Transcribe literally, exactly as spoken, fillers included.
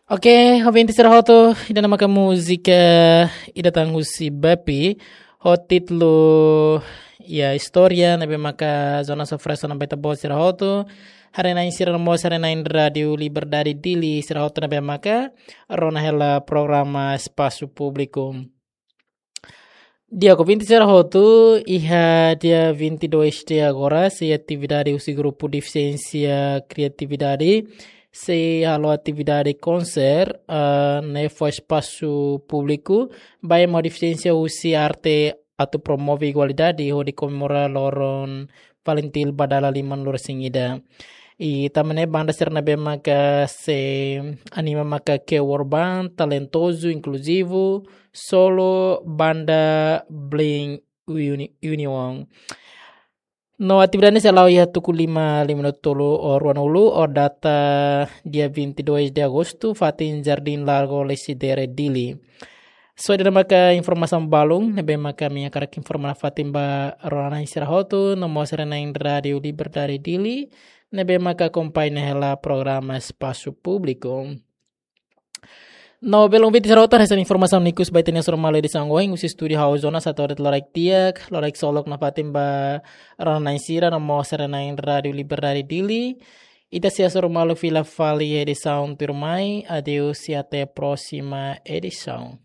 Oke, ouvinte sira hotu, ida-ne'e maka múzika ida tan husi Bepi, ho títulu, ya, Istória, ne'ebé maka Jonas oferese ona ba ita-boot sira hotu, haree-na'in sira no mós haree-na'in Rádiu Liberdade Dili sira hotu ne'ebé maka rona hela programa Espasu Públiku. Di'ak, ouvinte sira hotu, iha dia vinte e dois de agora, sei atividade husi grupu defisiénsia kriatividade, sei halo atividade konser, ah, ne'e fó espasu públiku ba ema ho defisiénsia husi arte atu promove igualdade hodi komemora loron FALINTIL ba dala lima-nulu-resin-ida. I tanba ne'e banda sira ne'ebé maka sei anima maka Kewor Band, talentozu, inkluzivu, solo, banda Bling Uni-, Union. No atividade ne'e sei hala'o iha tuku lima, lima-nulu-tolu, ho ruanulu, ho data dia vinte e dois de agosto, fatin Jardim Largo Lecidere, Dili. So, ida-ne'e maka informasaun balun ne'ebé maka ami hakarak informa nafatin ba rona-na'in sira hotu, no mós haree-na'in Rádiu Liberdade Dili, ne'ebé maka akompaña hela programa Espasu Públiku. No, belun, ouvinte sira hotu, hanesan informasaun ne'e ikus ba ita-nia Hasoru Malu edisaun ohin, husi estúdiu ha'u Jonas hato'o de'it loraik di'ak, loraik solok nafatin ba rona-na'in sira, no mós haree-na'in Rádiu Liberdade Dili. Ita sei hasoru malu fila fali edisaun tuirmai, adeus e até a próxima edição.